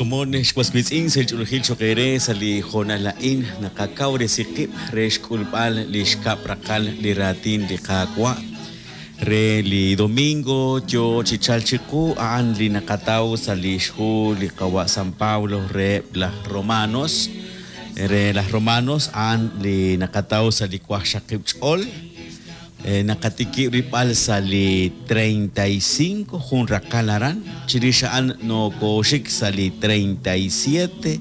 xkomon ex was wiitz'in sa' li ch'oolejil cho'q eere sa' li hoonal a'in naqakawresi qib' re xk'ulb'al li xkab' raqal li raatin li Qaawa' re li domingo yoo chi chalk chiqu a'an li naqataw sa' li xhu li qawa' San Pablo reheb' laj Romanos re laj Romanos a'an li naqataw sa' li waqxaqib' ch'ol Naqatikib' rilb'al sa' li 35, jun raqal aran, chirix a'an nokooxik sa' li 37,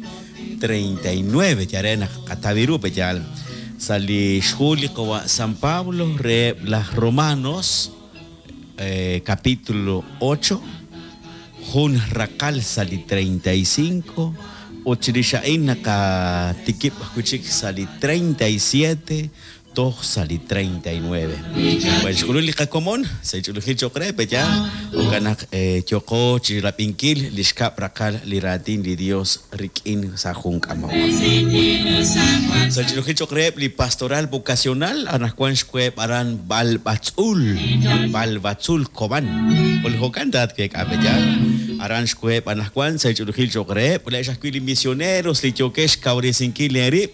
39, yal re naq qataw ru pe'yaal. Sa' li xhu li qawa' San Pablo reheb' laj Romanos, capítulo 8, jun raqal sa' li 35, ut chirix a'in naqatikib' ajwi' chik sa' li 37, toj sa' li 39. Well, xk'ulun li qakomon sa' li ch'oolejil cho'q re, pe'yaal? Jo'kan naq yooqo chi rab'inkil li xkab' raqal li raatin li Dios rik'in sa' jun k'amok. Sa' li ch'oolejil cho'q reheb' li pastoral vocacional, anaqwan xweheb' aran Balbatzul, Balbatzul, Cobán. Jun jo'kan taat week'a, pe'yaal? Aran xweheb' anaqwan sa' li ch'oolejil cho'q reheb', laa'ex ajwi' li misioneros li yookex xkawresinkil eerib'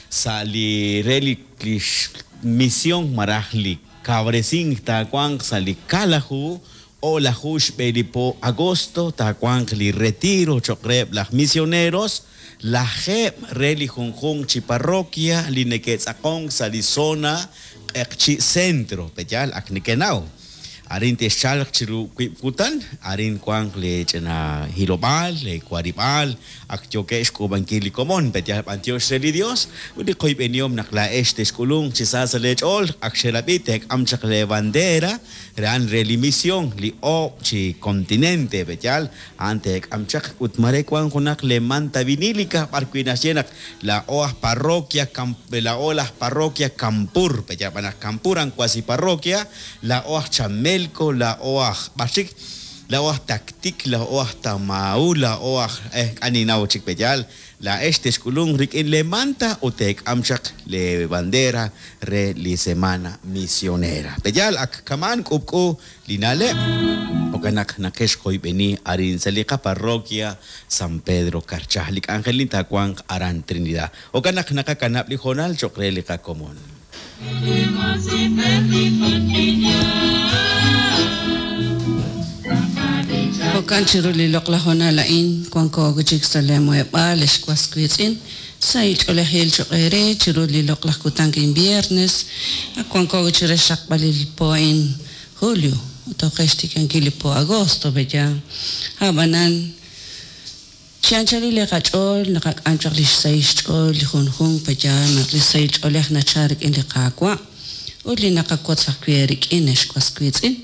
Sa' li re li lix mision malaj li kawresink taawanq sa' li kaalaju o'laju xb'e li po agosto taawanq li retiro choq' reheb' laj misioneros, lajeeb' re li junjunq chi parroquia li neke'tz'aqonk sa' li zona Q'eqchi' Centro, pe'yaal ak nekenaw. Arin texchalq chiru wiib' kutan, arin wanq lee ch'ina hilob'aal, lee warib'aal, ak yookeb' xk'uub'ankil li komon, pe' yal b'antiox re li Dios, ut li qoyb'enihom naq laa'ex texk'ulunq chi sa sa' lee ch'ool, ak xerab'i teek'am chaq lee bandera, re a'an re li mision, li oob' chi continente, pe' yaal, a'an teek'am chaq, ut maare wank junaq lee manta vinilica b'ar wi' naxye naq Laa'o aj parroquia Laa'o laj parroquia Campur, pe' yaal b'an aj Campur a'an cuasi parroquia, laa'o aj Chamelco, laa'o aj b'ar chik, laa'o aj Tactic, laa'o aj Tamaú, laa'o aj eh k'a' ninnaw chik pe' yaal, laa'ex texk'ulunq rik'in lee manta ut teek'am chaq lee bandera re li semana misionera. Pe' yaal ak kama'an k'ub'k'u li na'leb'. Jo'kan naq naqexqoyb'eni arin sa' li qaparroquia San Pedro Carchá. Li k'anjelin taawanq aran Trinidad. Jo'kan naq naqakanab' li hoonal cho'q re li qakomon. Jo'kan chiru li loq'laj hoonal a'in wanko wi' chik sa' lee muheb'aal, ex was wiitz'in, sahil ch'oolejil cho'q eere chiru li loq'laj kutan a'in viernes, ak wanko wi' chire xraqb'alil po a'in julio ut ok re xtikankil li po agosto, pe'yaal? A'b'anan, chi anchalil li qach'ool naqak'am chaq lix sahil xch'ool li junjunq, pe'yaal naq li sahil ch'oolej nachal rik'in li Qaawa' ut li naqawotz ajwi' eerik'in, ex was wiitz'in?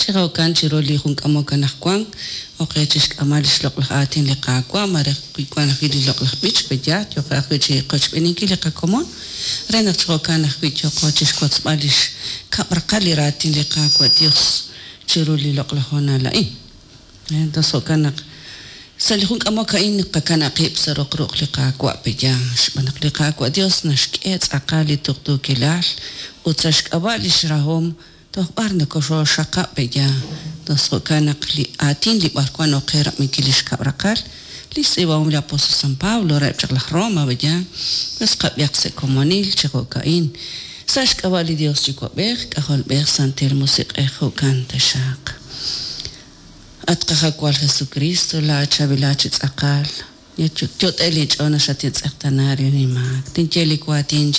Chi jo'kan, chiru li jun k'amok anajwan, ok qe chixk'amb'al lix loq'laj aatin li Qaawa', malaj wi wan ajwi' li loq'laj b'ich, pe'yaal, yooqo ajwi' chiqochb'eeninkil li qakomon, re naq chi jo'kan ajwi' yooqo chixwotzb'al lix kab' raqal li raatin li Qaawa' Dios chiru li loq'laj hoonal a'in. Entonces jo'kan naq sa' li jun k'amok a'in naqakanab' qib' sa' roq ruq' li Qaawa' pe'yaal, xb'aan naq li Qaawa' Dios naxk'e tz'aqal li tuqtuukilal ut sa' xk'ab'a' lix rahom Toj b'ar nokoxooxxaqab' pe'yaal? Tos jo'kan naq li aatin li b'arwan ok qe rab'inkil li xkab' raqal, lix tz'iib'ahom li apostol San Pablo reheb' chaq laj Roma pe'yaal, pues qab'ihaq sa' komonil chi jo'ka'in, Sa' xk'ab'a' li Dios Yuwa'b'ej, K'ajolb'ej, Santil Musiq'ej, jo'kan taxaq. At Qajawal Jesukristo, laa'at xawila chi tz'aqal, yot'e' linch'ool naq xatintz'eqtaana rik'in inmaak. Tinye li waatin.